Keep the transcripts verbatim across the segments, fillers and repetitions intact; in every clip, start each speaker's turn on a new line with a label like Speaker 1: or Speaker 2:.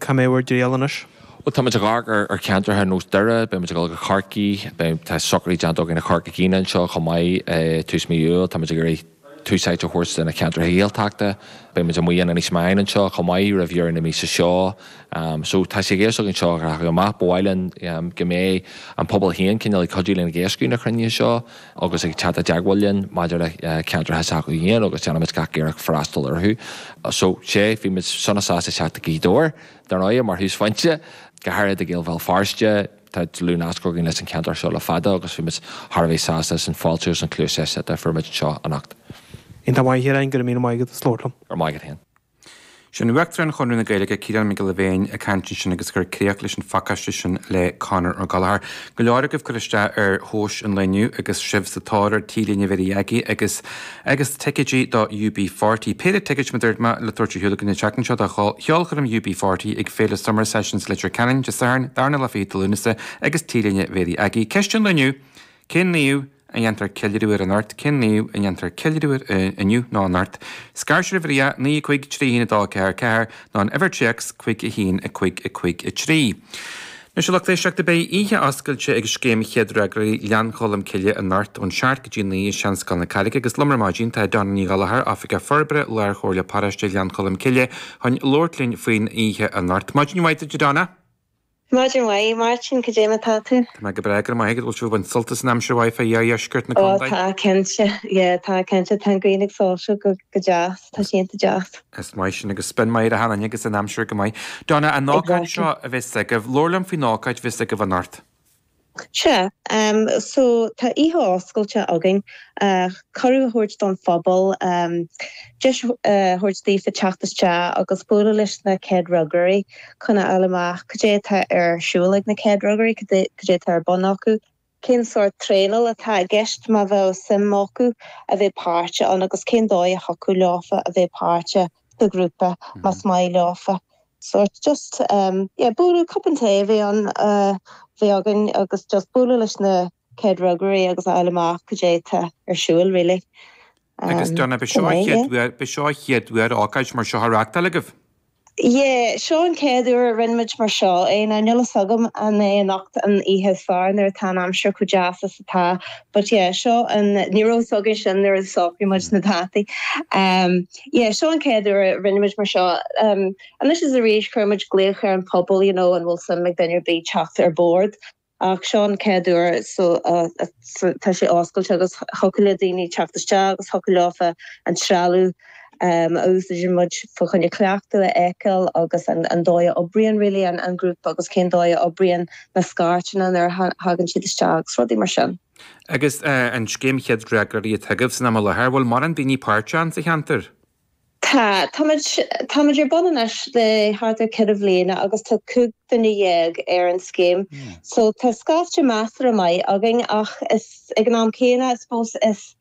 Speaker 1: Cá mbeidh bhur dtriall anois?
Speaker 2: Well tá muid ag amharc ar ar cheantracha ar nós Doire, beidh muid ag dul go Corcaigh, beidh tá socruithe déanta againn i Corca Dhuibhne anseo chomh maith tús mí Iúil, tá muid ag iarraidh tús áite a thabhairt do na ceantracha Gaeltachta, beidh muid amuigh in Inis Meáin anseo chomh maith roimh dheireadh na míosa seo. So tá sé i gceist againn seo a rachadh amach, ba mhaith linn go mbeidh an pobal féin cineál ag cuidiú linn ag éascú na cruinnithe seo agus ag teacht i dteagmháil linn maidir le ceantracha s'acu féin agus déanfaimid gach iarracht freastal orthu. So sé, bhí muid sona sásta teacht go Gaoth Dobhair. Dar ndóigh, mar thúsphointe, go háirithe do Ghaeil Bhéal Feirste, tá dlúthnasc againn leis an cheantar seo le fada agus bhí muid thar a bheith sásta as an fáiltiú agus an cluas éisteachta a fuair muid anseo anocht.
Speaker 1: Iontach maith, a Chiaráin, go raibh míle maith agat as labhairt liom.
Speaker 2: Go raibh maith agat féin.
Speaker 3: Sin Uachtarán Chonradh na Gaeilge, Ciarán Mac Giolla Bhéin, ag caint ansin agus ag cur críoch leis an phacáiste sin le Conor Ó Gallchóir. Go leor agaibh ag cur isteach ar thomhais an lae inniu agus sibh sa tóir ar T-léine Mhéirí Aggie agus agus ticéidí do U B forty. Péire ticéid mar a dúirt mé le tabhairt ar shiúl againn an tseachtain seo do cheolchoirm U B forty ag Féile Summer Sessions Leitir Ceanainn Dé Sathairn, darna lá fichead de Lúnasa agus T-léine Mhéirí Aggie. Ceist an lae inniu, Cén naomh a ndéantar ceiliúradh air anocht? Cén naomh a ndéantar ceiliúradh air inniu nó anocht? Scair sibh ar a naoi a cúig trí a haon a dó a ceathair ceathair nó an uimhir téacs cúig a haon a cúig a cúig a trí. Anois a lucht éisteachta beidh oíche oscailte ag Scéim Chéad Fhreagróirí Ghleann Cholm Cille anocht ón seacht go dtí a naoi i Seanscoil na Carraige agus liom ar maidin tá Donna Ní Ghallchóir, Oifigeach Forbartha Lár-Chomhairle Paróiste Ghleann Cholm Cille chun labhairt linn faoin oíche anocht. Maidin mhaith duit a Donna.
Speaker 4: Maidin mhaith, Máirtín, cad é mar tá tú?
Speaker 3: Tá mé go breá, go raibh maith agat. Bhfuil sibh ag baint sult as an aimsir mhaith fá iardheisceart na
Speaker 4: Ó
Speaker 3: contae?
Speaker 4: tá, cinnte, yeah, tá cinnte, tá an ghrian ag soilsiú go go deas, tá sé iontach deas.
Speaker 3: Is maith sin agus spion maith ar achan duine agus an aimsir go maith. Donna, an ócáid
Speaker 4: Exactly.
Speaker 3: seo a bheas agaibh, labhair liom faoin ócáid a bheas agaibh anocht.
Speaker 4: Sea, so tá oíche oscailte againn, cuireadh a thabhairt don phobal, deis a thabhairt daofa teacht isteach agus bualadh leis na céad fhreagróirí chun a fháil amach cad é atá ar siúl ag na céad fhreagróirí, cad é atá ar bun acu. cén sórt traenáil atá i gceist má bheadh suim acu a bheith páirteach ann agus cén dóigh a thiocfadh leofa a bheith páirteach sa ghrúpa más maith leofa. Sórt just yeah bualadh cupán tae a bheith ann a bheith againn agus just bualadh leis na céad fhreagróirí agus a fháil amach cad é atá ar siúl really.
Speaker 3: Agus Donna, b'é seo an chéad uair, b'é seo an chéad uair ócáid mar seo á reáchtáil agaibh?
Speaker 4: Yeah, seo an chéad uair a rinne muid mar seo é. Now níl fhios agam an é anocht an oíche is fearr nuair atá an aimsir chomh deas is atá but yeah, seo an, ní raibh fhios againn sin nuair a shocraigh muid na dátaí. Um, yeah, seo an chéad uair a rinne muid mar seo. Um, anois is arís chuir muid glaoch ar an phobal, you know, an bhfuil suim ag duine ar bith teacht ar bord. Ach seo an chéad uair so tá sé oscailte agus thiocfadh le daoine teacht isteach agus thiocfadh leofa an trealamh a úsáideann muid fá choinne cleachtadh a fheiceáil agus an dóigh a oibríonn really an grúpa agus cén dóigh a oibríonn na scairteanna nuair a thagann siad isteach agus rudaí mar sin.
Speaker 3: Agus an scéim Chéad Fhreagróirí atá agaibh san am i láthair, bhfuil mórán daoine páirteach ann sa cheantar?
Speaker 4: Tá. Táimid, táimid ar bun anois le thart ar ceithre bhliana agus tá cúig duine dhéag ar an scéim. So tá scaifte measartha maith againn ach is, ag an am céanna, I suppose, is,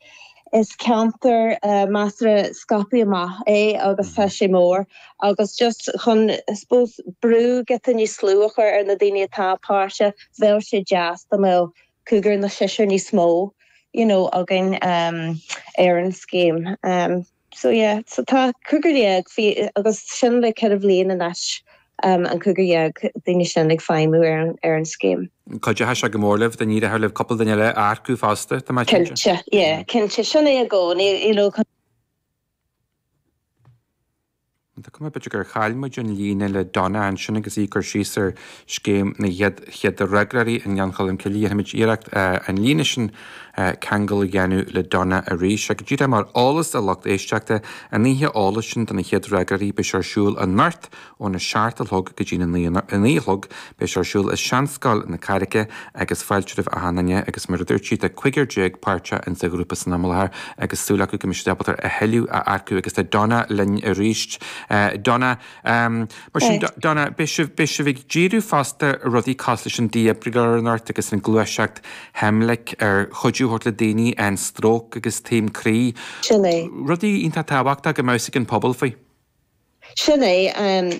Speaker 4: is ceantar measartha scaipthe amach é agus tá sé mór agus just chun, I suppose, brú giota níos lú a chur ar na daoine atá páirteach, bheadh sé deas dá mbeadh cúigear nó seisear níos mó, you know, againn ar an scéim. So yeah, so tá cúigear dhéag, bhí, agus sin le ceithre bhliain anois, an cúigear dhéag daoine sin ag feidhmiú ar an, ar an scéim.
Speaker 3: Cuideoidh sé go mór libh, dá n-éireodh libh cúpla duine eile a earcú fosta, tá mé cinnte.
Speaker 4: Cinnte, yeah, cinnte. Sin é i gcónaí, you know,
Speaker 3: Tá cuma b'fhéidir gur chaill muid an líne le Donna ansin agus í ag cur síos ar scéim na gcéad chéad fhreagróirí i nGleann Cholm Cille. Déanfaimid iarracht an líne sin ceangal a dhéanamh le Donna arís. Ach go díreach mar eolas do lucht éisteachta, an oíche eolais sin do na chéad fhreagróirí, beidh sé ar siúl anocht óna seacht a chlog go dtí a naoi a chlog. Beidh sé ar siúl i Seanscoil na Carraice agus fáilte roimh achan duine agus mar a dúirt sí tá cúigear déag páirteach in sa ghrúpa san am i láthair agus súil acu go mbeidh siad ábalta a thuilleadh a earcú agus tá Donna linn arís. Donna, mar sin Donna, beidh sibh, beidh sibh ag díriú fosta ar rudaí cosúil leis an dífhibrileoir anocht agus an gluaiseacht Heimlich ar chuidiú a thabhairt le daoine an stróc agus taom croí.
Speaker 4: Sin é.
Speaker 3: Rudaí iontach tábhachtach go mbeadh a fhios ag an pobal faoi.
Speaker 4: Sin é,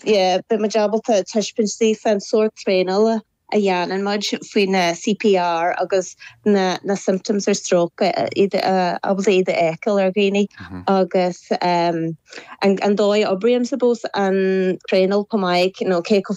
Speaker 4: yeah, beidh muid ábalta taispeáint daofa an sórt traenála a dhéanann muid faoi na CPR agus na na symptoms ar stroke, iad ábalta iad a fheiceáil ar dhaoine agus an an dóigh a oibríonn suppose an traenáil chomh maith, you know, cé chomh